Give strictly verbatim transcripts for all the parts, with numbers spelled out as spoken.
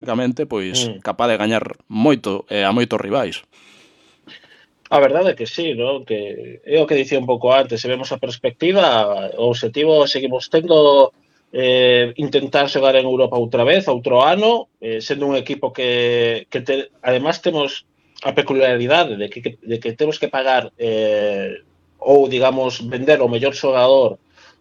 basicamente, pois, Mm. capaz de gañar moito e a moitos rivais. A verdade é que sí, ¿no? Que é o que dicía un pouco antes, se vemos a perspectiva, o obxectivo seguimos tendo eh, intentar xogar en Europa outra vez, outro ano, eh, sendo un equipo que, que te, además temos a peculiaridade de que, de que temos que pagar eh, ou, digamos, vender o mellor xogador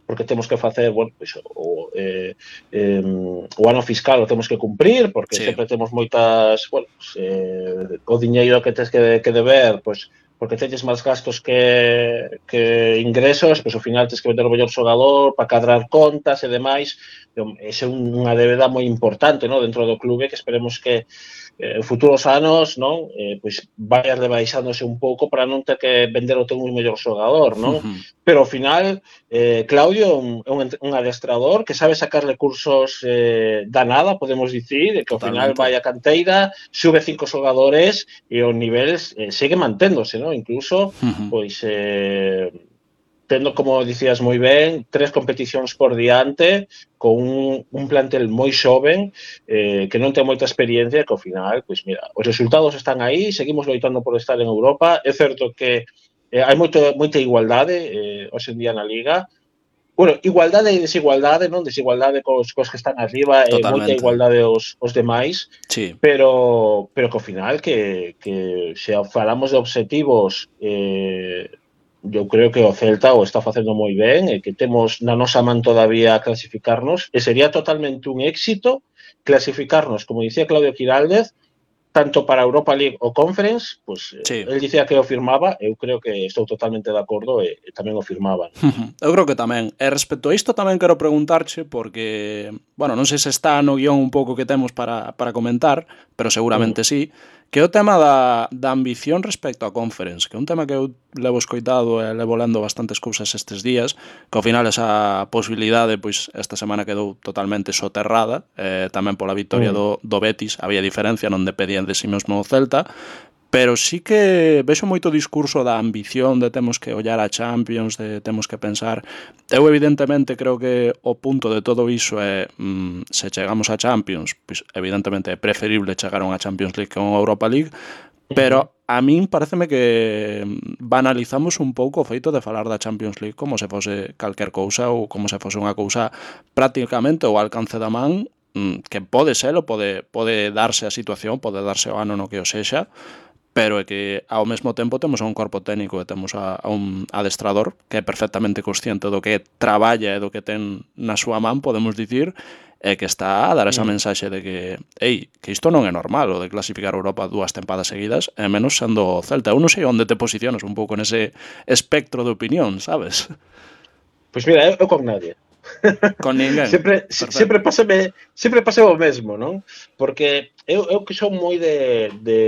porque temos que facer, bueno, pues, o, eh, eh, o ano fiscal o temos que cumprir, porque Sí. sempre temos moitas, bueno, pues, eh, o diñeiro que tens que, que deber, pues, porque teñes máis gastos que, que ingresos, pois ao final tens que vender o mellor xogador para cadrar contas e demais. Esa é unha débeda moi importante, ¿no? Dentro do clube, que esperemos que en eh, futuros anos, non? Eh, pois vaya rebaixándose un pouco para non ter que vender o teu mellor xogador, non? Pero ao final, eh, Claudio é un, un adestrador que sabe sacar recursos eh, da nada, podemos dicir, e que ao final vai a canteira, sube cinco xogadores e o nivel eh, segue manténdose, ¿no? Incluso, pois, eh, tendo, como dicías moi ben, tres competicións por diante, con un, un plantel moi xoven, eh, que non ten moita experiencia, que ao final, pois mira, os resultados están aí, seguimos loitando por estar en Europa. É certo que eh, hai moito, moita igualdade eh, hoxe en día na Liga. Bueno, igualdade e desigualdade, non? Desigualdade cos, cos que están arriba e moita Totalmente. igualdade os, os demais, sí. pero, pero que ao final que, que se falamos de obxectivos, eh, eu creo que o Celta o está facendo moi ben e que temos na nosa man todavía a clasificarnos, e sería totalmente un éxito clasificarnos, como dicía Claudio Quiraldez, tanto para Europa League ou Conference, pues, sí. el dicía que o firmaba, eu creo que estou totalmente de acordo e, e tamén o firmaba. Eu creo que tamén. E respecto a isto tamén quero preguntarche, porque, bueno, non sei se está no guión un pouco que temos para, para comentar, pero seguramente mm. sí, que é o tema da, da ambición respecto a Conference, que é un tema que eu levo escoitado e levo lendo bastantes cousas estes días, que ao final esa posibilidade, pois, esta semana quedou totalmente soterrada, eh, tamén pola victoria mm. do, do Betis, había diferencia, non dependían de si mesmo o Celta, pero sí que vexo moito discurso da ambición de temos que ollar a Champions, de temos que pensar. Eu evidentemente creo que o punto de todo iso é mmm, se chegamos a Champions, pois evidentemente é preferible chegar a unha Champions League que a unha Europa League, pero a min pareceme que banalizamos un pouco o feito de falar da Champions League como se fose calquer cousa ou como se fose unha cousa prácticamente ao alcance da man, que pode ser ou pode, pode darse a situación, pode darse o ano no que o sexa, pero é que ao mesmo tempo temos a un corpo técnico e temos a, a un adestrador que é perfectamente consciente do que traballa e do que ten na súa man, podemos dicir, e que está a dar esa mm. mensaxe de que, ei, que isto non é normal, o de clasificar a Europa dúas tempadas seguidas, e menos sendo o Celta. Eu non sei onde te posicionas un pouco nese espectro de opinión, sabes? Pois mira, eu, eu con nadie. Con ninguén. sempre, sempre pásame, sempre pasa o mesmo, non? Porque eu, eu que son moi de, de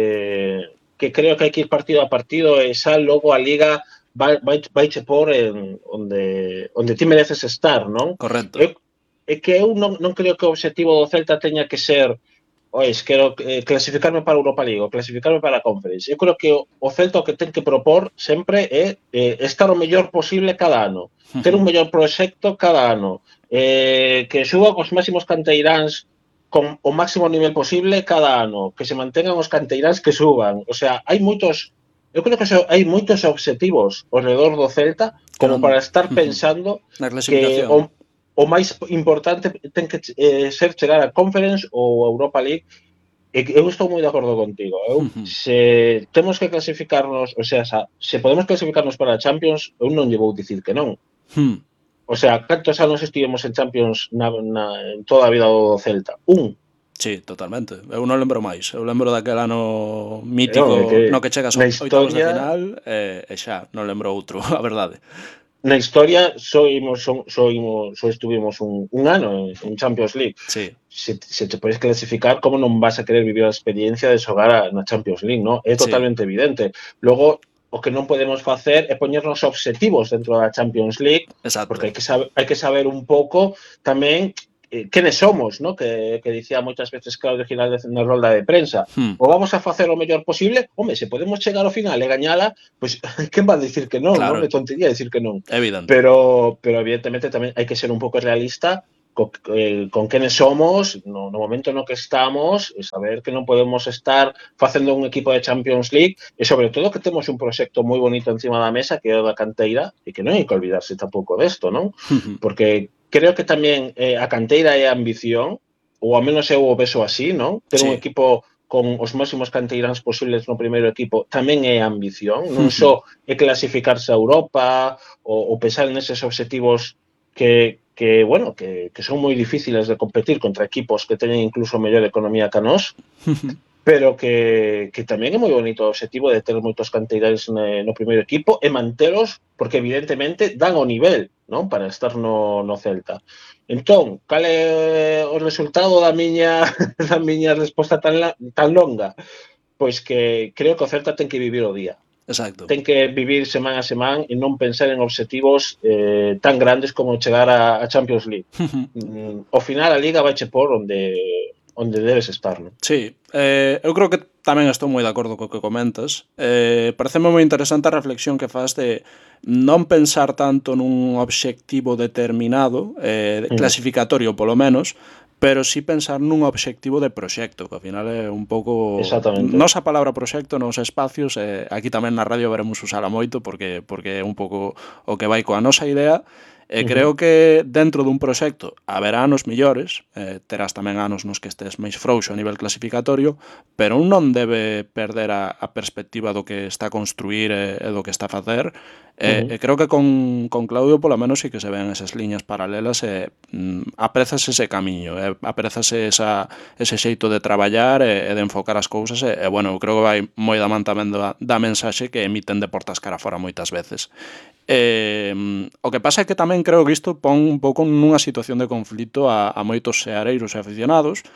que creo que hai que ir partido a partido e xa logo a Liga vai, vai, vai che por en onde, onde ti mereces estar, non? Correcto. Eu, é que eu non, non creo que o objetivo do Celta teña que ser ois, quero eh, clasificarme para a Europa League ou clasificarme para a Conference. Eu creo que o, o Celta o que ten que propor sempre é eh, estar o mellor posible cada ano, ter un mellor proxecto cada ano, eh, que suba os máximos canteiráns con o máximo nivel posible cada ano, que se mantengan os canteiráns que suban. O sea, hai moitos, eu creo que hai moitos obxectivos ao redor do Celta como para estar pensando que o, o máis importante ten que eh, ser chegar a Conference ou a Europa League. E eu estou moi de acordo contigo. Eu, se temos que clasificarnos, o sea, se podemos clasificarnos para a Champions, eu non lle vou dicir que non. Hmm. O sea, cantos anos estivemos en Champions na, na, en toda a vida do Celta? Un. Sí, totalmente. Eu non lembro máis. Eu lembro daquel ano mítico no, que, no que chegas aos oitavos de final e, e xa, non lembro outro, a verdade. Na historia só, imos, só, só, imos, só estuvimos un, un ano en, en Champions League. Sí. Se, se te podes clasificar, como non vas a querer vivir a experiencia de xogar a, na Champions League, ¿no? É totalmente sí. evidente. Logo, o que non podemos facer é poñernos obxectivos dentro da Champions League, exacto. Porque hai que, saber, hai que saber un pouco tamén eh, quenes somos, ¿no? Que, que dicía moitas veces Claudio Giraldez na rolda de prensa. Hmm. O vamos a facer o mellor posible, home, se podemos chegar ao final e gañala, pois, pues, quen va a dicir que non, claro. Non? É tontería dicir que non. Evidente. Pero, pero evidentemente tamén hai que ser un pouco realista co, eh, con quenes somos no, no momento no que estamos e saber que non podemos estar facendo un equipo de Champions League e sobre todo que temos un proxecto moi bonito encima da mesa que é o da canteira e que non hai que olvidarse tampouco desto, non? Porque creo que tamén eh, a canteira é a ambición, ou ao menos eu o vexo así, non? Ter un Sí. equipo con os máximos canteiráns posibles no primeiro equipo tamén é ambición, non só é clasificarse a Europa ou, ou pensar neses obxectivos que, que bueno, que, que son moi difíciles de competir contra equipos que teñen incluso mellor economía que a nós, pero que, que tamén é moi bonito o obxectivo de ter moitos canteirais no, no primeiro equipo e mantelos, porque evidentemente dan o nivel, non, para estar no, no Celta. Entón, cal é o resultado da miña da miña resposta tan, la, tan longa? Pois que creo que o Celta ten que vivir o día. Exacto. Ten que vivir semana a semana e non pensar en obxectivos eh, tan grandes como chegar a, a Champions League. mm, ao final a Liga vai che por onde onde debes estar, non? Sí, eh, eu creo que tamén estou moi de acordo co que comentas. Eh, pareceme moi interesante a reflexión que faz de non pensar tanto nun obxectivo determinado, eh, clasificatorio polo menos, pero sí pensar nun obxectivo de proxecto, que ao final é un pouco... Exactamente. Nosa palabra proxecto nos espacios, eh, aquí tamén na radio veremos usala moito, porque porque é un pouco o que vai coa nosa idea. E creo que dentro dun proxecto haberá anos millores, eh, terás tamén anos nos que estés máis frouxo a nivel clasificatorio, pero un non debe perder a, a perspectiva do que está a construir e, e do que está a facer. E, uh-huh. e creo que con, con Claudio polo menos sí que se ven esas liñas paralelas e mm, aprezas ese camiño, e aprezas esa, ese xeito de traballar e, e de enfocar as cousas e, e bueno, creo que vai moi da man tamén da, da mensaxe que emiten de portas cara fora moitas veces. Eh, o que pasa é que tamén creo que isto pon un pouco nunha situación de conflito a, a moitos seareiros e aficionados,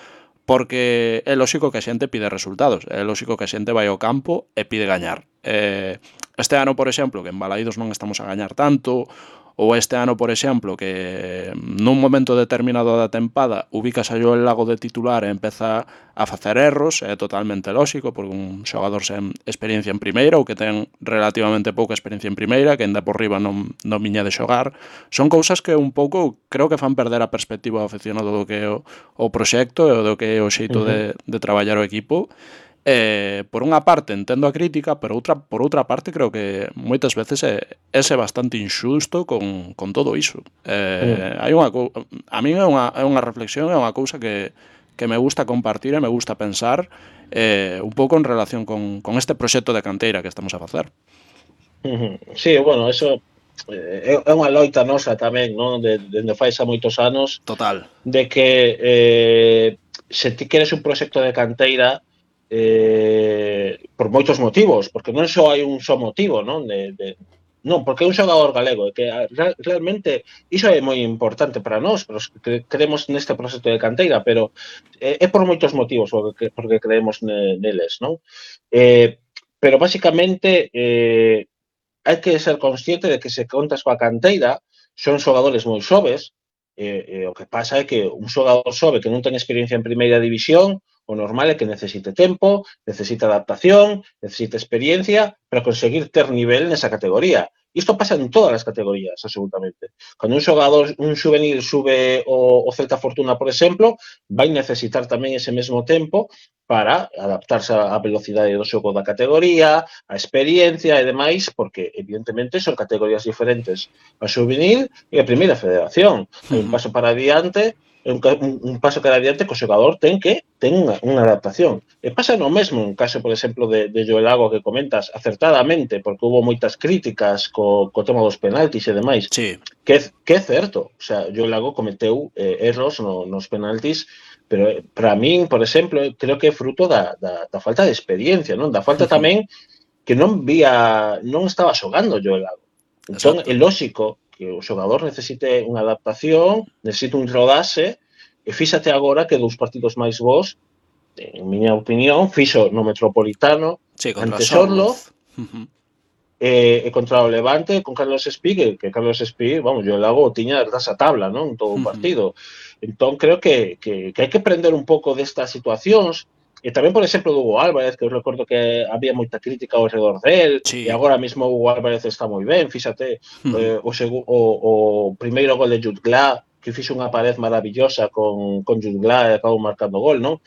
porque é lóxico que a xente pide resultados, é lóxico que a xente vai ao campo e pide gañar. Eh, este ano, por exemplo, que en Balaídos non estamos a gañar tanto, ou este ano, por exemplo, que nun momento determinado da tempada ubicas a Joel Lago de titular e empeza a facer erros, é totalmente lóxico, porque un xogador sen experiencia en primeira ou que ten relativamente pouca experiencia en primeira, que ainda por riba non, non viña de xogar, son cousas que un pouco creo que fan perder a perspectiva ao aficionado do que é o, o proxecto e do que é o xeito uh-huh. de, de traballar o equipo. Eh, por unha parte entendo a crítica, pero outra, por outra parte creo que moitas veces é, é bastante injusto con, con todo iso. Eh, mm. hai unha, a min é unha, é unha reflexión, é unha cousa que, que me gusta compartir e me gusta pensar eh, un pouco en relación con, con este proxecto de canteira que estamos a facer. Sí, bueno, eso é, é unha loita nosa tamén, non? De, de, de fai xa moitos anos. Total. De que eh, se ti queres un proxecto de canteira eh, por moitos motivos, porque non só hai un só motivo, non? De, de, non, porque é un xogador galego, que realmente iso é moi importante para nós, pero que creemos neste proxecto de canteira, pero é, é por moitos motivos porque, porque creemos neles, non? Eh, pero basicamente eh, hai que ser consciente de que se contas coa canteira, son xogadores moi xoves, e, e o que pasa é que un xogador xove que non ten experiencia en primeira división, o normal é que necesite tempo, necesite adaptación, necesite experiencia para conseguir ter nivel nesa categoría. Isto pasa en todas as categorías, absolutamente. Cando un xogador, un juvenil sube o, o Celta Fortuna, por exemplo, vai necesitar tamén ese mesmo tempo para adaptarse á velocidade do xogo da categoría, a experiencia e demais, porque evidentemente son categorías diferentes a juvenil e a primeira federación. Hai un paso para adiante, un, un paso para adiante que o xogador ten que ten unha, unha adaptación. E pasa no mesmo en caso, por exemplo, de, de Joel Lago que comentas acertadamente, porque hubo moitas críticas co, co tema dos penaltis e demais. Sí. Que, que é certo, o sea, Joel Lago cometeu eh, erros no, nos penaltis, pero para min, por exemplo, creo que é fruto da, da, da falta de experiencia, non? Da falta tamén que non vía, non estaba xogando Joel Lago. Entón, é lóxico que o xogador necesite unha adaptación, necesite un rodaxe, e fíxate agora que dos partidos máis bons, en miña opinión, fixo no Metropolitano, sí, ante Sorlo, uh-huh. e, e contra o Levante, con Carlos Espí, que, que Carlos Espí, vamos, yo Lago tiña esa tabla, non? En todo o uh-huh. partido. Entón, creo que, que, que hai que aprender un pouco destas situacións. E tamén, por exemplo, do Hugo Álvarez, que eu recordo que había moita crítica ao redor del, sí. e agora mesmo o Hugo Álvarez está moi ben, fíxate, uh-huh. eh, o, segu, o, o primeiro gol de Jude Gla, que fixo unha pared maravillosa con, con Jungla e acabou marcando gol, non?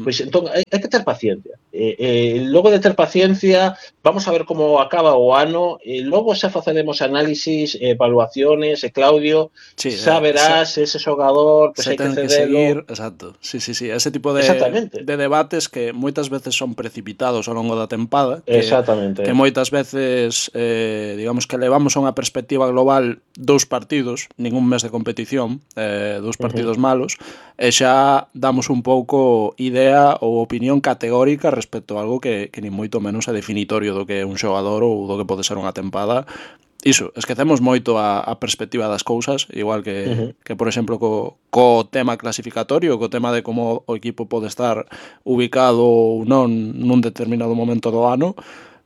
Pois entón, hai, hai que ter paciencia. E, e logo de ter paciencia, vamos a ver como acaba o ano, e logo xa faceremos análisis, evaluaciones, e Claudio, Sí, xa eh, se, verás ese xogador, pois se hai que ten que cedelo. seguir, exacto. Sí, sí, sí, ese tipo de, Exactamente, de debates que moitas veces son precipitados ao longo da tempada, que, que exactamente. moitas veces, eh, digamos que levamos a unha perspectiva global dous partidos, ningún mes de competición, eh, dous Uh -huh. partidos malos, e xa damos un pouco idea ou opinión categórica respecto a algo que, que ni moito menos é definitorio do que é un xogador ou do que pode ser unha tempada. Iso, esquecemos moito a, a perspectiva das cousas, igual que, Uh -huh. que por exemplo, co, co tema clasificatorio, co tema de como o equipo pode estar ubicado ou non nun determinado momento do ano,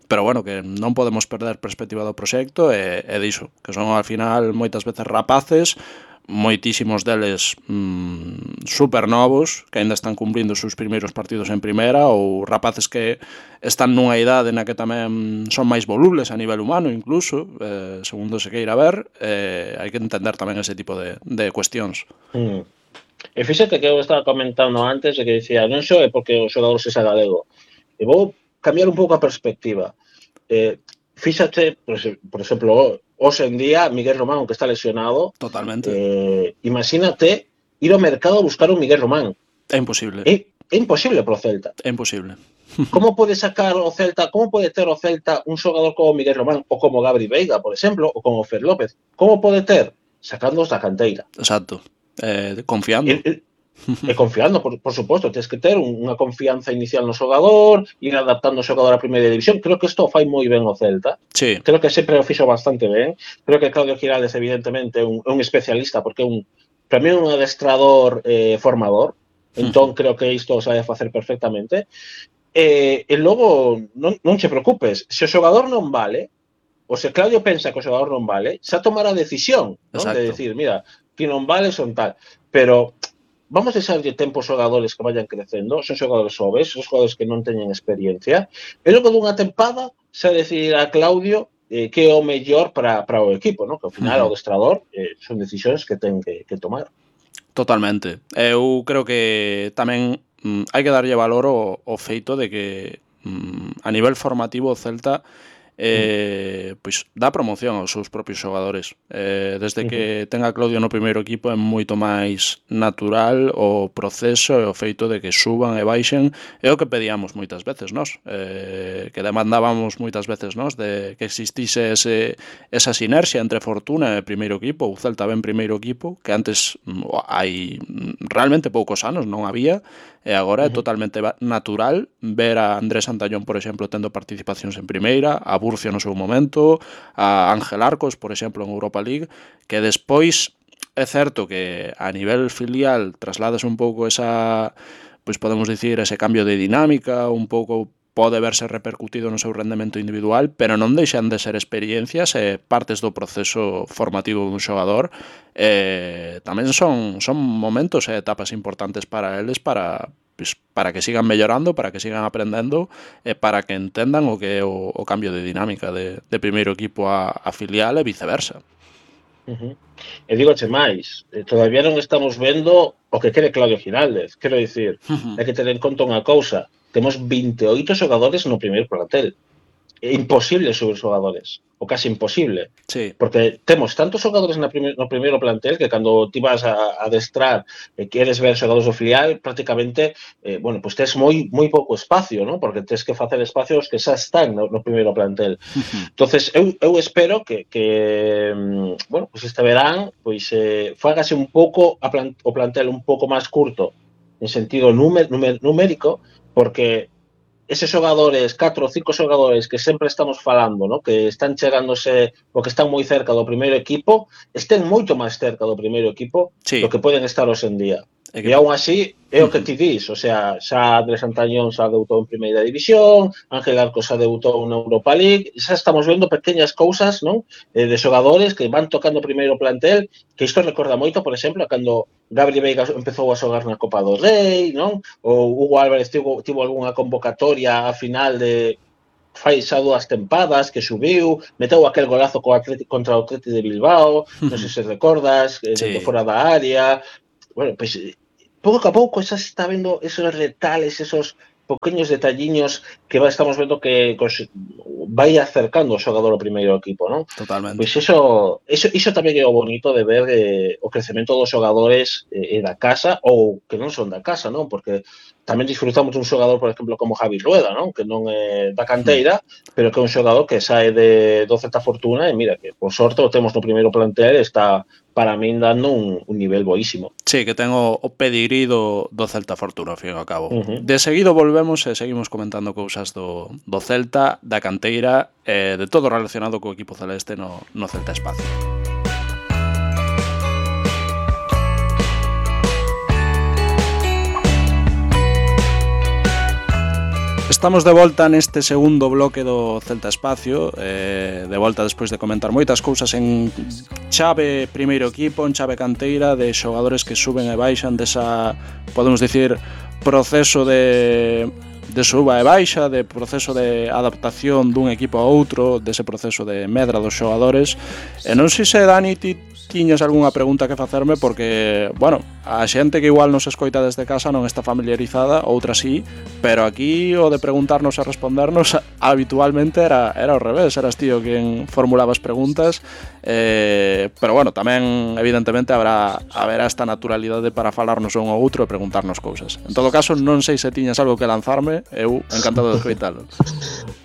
pero bueno, que non podemos perder perspectiva do proxecto e, e diso, que son ao final moitas veces rapaces, moitísimos deles mmm, super novos, que aínda están cumprindo os seus primeiros partidos en primeira, ou rapaces que están nunha idade na que tamén son máis volubles a nivel humano incluso, eh, segundo se queira ver, eh, hai que entender tamén ese tipo de, de cuestións. Mm. E fíxate que eu estaba comentando antes de que dicía, non só é porque o xogador sexa galego, e vou cambiar un pouco a perspectiva. Eh, fíxate, por, por exemplo, hoxe en día, Miguel Román, que está lesionado, Totalmente. Eh, imagínate ir ao mercado a buscar un Miguel Román. É imposible. É, é imposible pro Celta. É imposible. Como pode sacar o Celta, como pode ter o Celta un xogador como Miguel Román ou como Gabri Veiga, por exemplo, ou como Fer López? Como pode ter? Sacándoos da canteira. Exacto. Eh, confiando. E, e, e confiando, por, por suposto, tens que ter unha confianza inicial no xogador, ir adaptando o xogador á primeira división. Creo que isto fai moi ben o Celta. Sí. Creo que sempre o fixo bastante ben. Creo que Claudio Giraldes, evidentemente, é un, un especialista, porque é un, para mí é un adestrador eh, formador. Entón, creo que isto sabe facer perfectamente. E, e logo, non, non che preocupes, se o xogador non vale, ou se Claudio pensa que o xogador non vale, xa tomará a decisión, non? De decir, mira, que non vale son tal. Pero vamos a deixarlle tempo aos xogadores que vayan crecendo, son xogadores xoves, son xogadores que non teñen experiencia, e logo dunha tempada xa decidir a Claudio eh, que é o mellor para, para o equipo, non? Que ao final o adestrador eh, son decisións que ten que, que tomar. Totalmente. Eu creo que tamén mm, hai que darlle valor ao, ao feito de que mm, a nivel formativo o Celta eh, pois dá promoción aos seus propios xogadores. Eh, desde que ten a Claudio no primeiro equipo é moito máis natural o proceso e o feito de que suban e baixen, é o que pedíamos moitas veces nós, eh, que demandábamos moitas veces nós de que existise ese, esa sinerxia entre Fortuna e primeiro equipo, o Celta ben primeiro equipo, que antes hai realmente poucos anos non había, e agora é totalmente natural ver a Andrés Santallón, por exemplo, tendo participacións en primeira, a Burcio no seu momento, a Ángel Arcos, por exemplo, en Europa League, que despois é certo que a nivel filial traslades un pouco esa, pois podemos dicir, ese cambio de dinámica, un pouco pode verse repercutido no seu rendemento individual, pero non deixan de ser experiencias e partes do proceso formativo dun xogador. Eh, tamén son, son momentos e etapas importantes para eles para, pues, para que sigan mellorando, para que sigan aprendendo e para que entendan o que é o, o cambio de dinámica de, de primeiro equipo a, a filial e viceversa. Uh -huh. E digoche máis, todavía non estamos vendo o que quere Claudio Giraldez. Quero dicir, uh -huh. hai que ter en conta unha cousa. Temos veintioito xogadores no primeiro plantel. É imposible subir xogadores, o casi imposible. Sí. Porque temos tantos xogadores na primer, no primeiro plantel que cando ti vas a, a adestrar e queres ver xogadores do filial, prácticamente, eh, bueno, pues tes moi moi pouco espacio, ¿no? Porque tes que facer espacios que xa están no, no primeiro plantel. Uh-huh. Entonces, eu, eu espero que, que bueno, pues este verán, pois eh, fágase un pouco a plan, o plantel un pouco máis curto, en sentido numer, numer, numérico, porque eses xogadores, catro ou cinco xogadores que sempre estamos falando, ¿no? Que están chegándose ou que están moi cerca do primeiro equipo, estén moito máis cerca do primeiro equipo sí. do que poden estar hoxe en día. E, que... e aún así, é o que ti dis, o sea, xa Andrés Antañón xa debutou en primeira división, Ángel Arcos xa debutou na Europa League, xa estamos vendo pequeñas cousas, non? De xogadores que van tocando o primeiro plantel, que isto recorda moito, por exemplo, cando Gabri Veiga empezou a xogar na Copa do Rei, non? Ou Hugo Álvarez tivo, tivo algunha convocatoria a final de fai xa dúas tempadas que subiu, meteu aquel golazo co Atleti, contra o Atleti de Bilbao, non sei se recordas, sí. De fora da área. Bueno, pois pues, pouco a pouco xa se está vendo esos retales, esos pequeños detalliños que estamos vendo que pues, vai acercando o xogador ao primeiro equipo, non? Totalmente. Pois pues iso, iso, iso tamén é o bonito de ver eh, o crecemento dos xogadores eh, da casa ou que non son da casa, non? Porque tamén disfrutamos un xogador, por exemplo, como Javi Rueda, non? Que non é da canteira, mm. pero que é un xogador que sae de, do Celta Fortuna e mira que, por sorte, o temos no primeiro plantel e está, para min, dando un, un nivel boísimo. Sí, que ten o, o pedigrí do, do Celta Fortuna, ao fin e ao cabo. Uh-huh. De seguido volvemos e seguimos comentando cousas do, do Celta, da canteira, e de todo relacionado co equipo celeste no, no Celta Espacio. Estamos de volta neste segundo bloque do Celta Espacio, eh, de volta despois de comentar moitas cousas en chave primeiro equipo, en chave canteira, de xogadores que suben e baixan desa, podemos dicir, proceso de, de suba e baixa, de proceso de adaptación dun equipo a outro, dese proceso de medra dos xogadores. E non sei se, Dani, ti tiñas algunha pregunta que facerme, porque, bueno, a xente que igual nos escoita desde casa non está familiarizada, outra sí, pero aquí o de preguntarnos e respondernos habitualmente era, era ao revés, eras tío quen formulaba as preguntas, eh, pero bueno, tamén evidentemente habrá, haberá esta naturalidade para falarnos un ao outro e preguntarnos cousas. En todo caso, non sei se tiñas algo que lanzarme, eu encantado de escoitalo.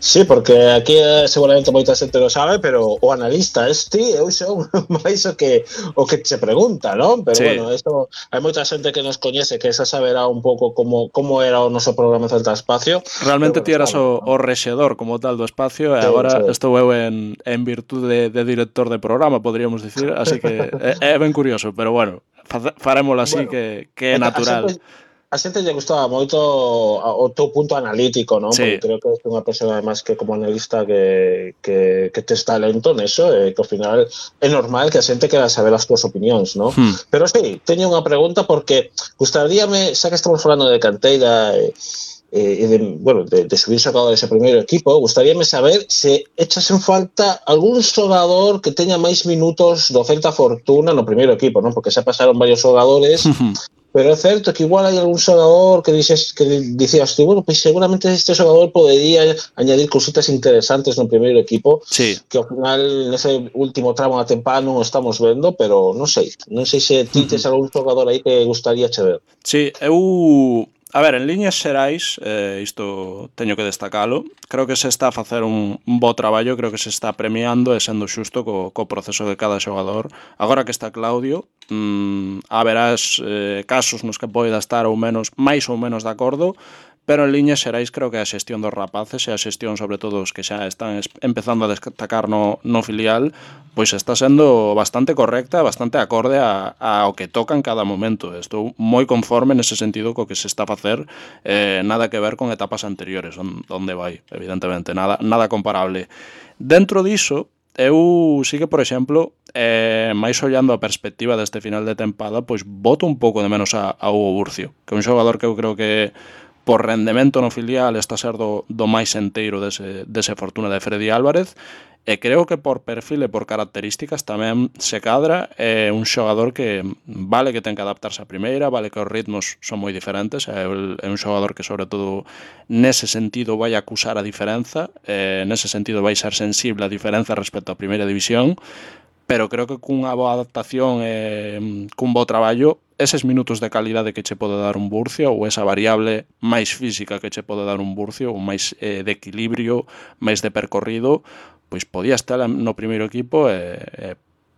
Sí, porque aquí seguramente moita xente lo sabe, pero o analista este, eu son máis o que o que se pregunta, non? Pero sí. Bueno, esto, hai moita xente que nos coñece que esa saberá un pouco como, como era o noso programa Celta Espacio. Realmente ti eras o, o rexedor como tal do espacio e sí, agora sí. Estou eu en, en virtude de, de director de programa, podríamos dicir, así que é, é ben curioso, pero bueno, farémolo así, bueno, que, que é natural. A xente lle gustaba moito o teu punto analítico, non? Sí. Porque creo que é unha persona, además, que como analista que, que, que tes talento neso, e que ao final é normal que a xente quera saber as túas opinións, non? Hmm. Pero sí, teño unha pregunta porque gustaríame, xa que estamos falando de canteira e, e de, bueno, de, de subir xogadores ao primeiro equipo, gustaríame saber se echas en falta algún xogador que teña máis minutos do Celta Fortuna no primeiro equipo, non? Porque xa pasaron varios xogadores. Pero é certo que igual hai algún xogador que dices, que dicías tú, bueno, pois pues seguramente este xogador podería añadir cositas interesantes no primeiro equipo, sí. Que ao final nese último tramo da tempada non o estamos vendo, pero non sei, non sei se ti tes algún xogador aí que gustaría che ver. Sí, eu... A ver, en liñas xerais, eh, isto teño que destacalo, creo que se está a facer un, un bo traballo, creo que se está premiando e sendo xusto co, co proceso de cada xogador. Agora que está Claudio, mmm, haberás eh, casos nos que poida estar ou menos, máis ou menos de acordo, pero en liñas xerais creo que a xestión dos rapaces e a xestión sobre todo os que xa están empezando a destacar no, no filial, pois está sendo bastante correcta, bastante acorde a, a o que toca en cada momento. Estou moi conforme nese sentido co que se está a facer, eh, nada que ver con etapas anteriores, onde vai, evidentemente, nada, nada comparable. Dentro diso, eu sí que, por exemplo, eh, máis ollando a perspectiva deste final de tempada, pois boto un pouco de menos a, a Hugo Burcio, que é un xogador que eu creo que por rendemento no filial está a ser do, do máis enteiro dese, dese Fortuna de Freddy Álvarez, e creo que por perfil e por características tamén se cadra, é un xogador que vale que ten que adaptarse a primeira, vale que os ritmos son moi diferentes, é un xogador que sobre todo nese sentido vai acusar a diferenza, e nese sentido vai ser sensible a diferenza respecto á primeira división, pero creo que cunha boa adaptación e cun bo traballo, eses minutos de calidade que che pode dar un Burcio ou esa variable máis física que che pode dar un Burcio ou máis eh, de equilibrio, máis de percorrido, pois podías tela no primeiro equipo e, e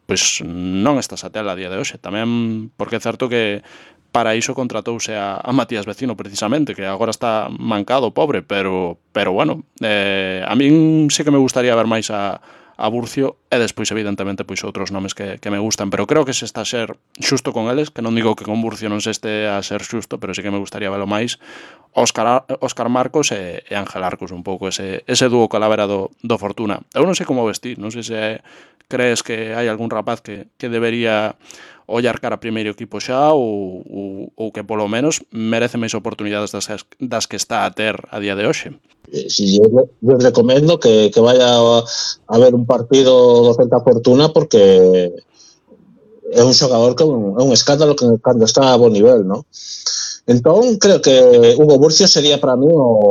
pois non estás a tela a día de hoxe. Tamén porque é certo que para iso contratouse a, a Matías Vecino precisamente, que agora está mancado, pobre, pero, pero bueno, eh, a min sí que me gustaría ver máis a a Burcio e despois evidentemente pois outros nomes que, que me gustan, pero creo que se está a ser xusto con eles, que non digo que con Burcio non se este a ser xusto, pero sí que me gustaría velo máis. Óscar, Óscar Marcos e, e Ángel Arcos, un pouco ese, ese dúo calavera do, do Fortuna. Eu non sei como vestir, non sei se crees que hai algún rapaz que, que debería ollar cara a primeiro equipo xa ou, ou, ou que polo menos merece máis oportunidades das, das que está a ter a día de hoxe. Sí, yo, yo recomiendo que, que vaya a, a ver un partido do Celta Fortuna porque é un xogador que é un, é un escándalo que cando está a bo nivel, ¿no? Entón, creo que Hugo Burcio sería para mí o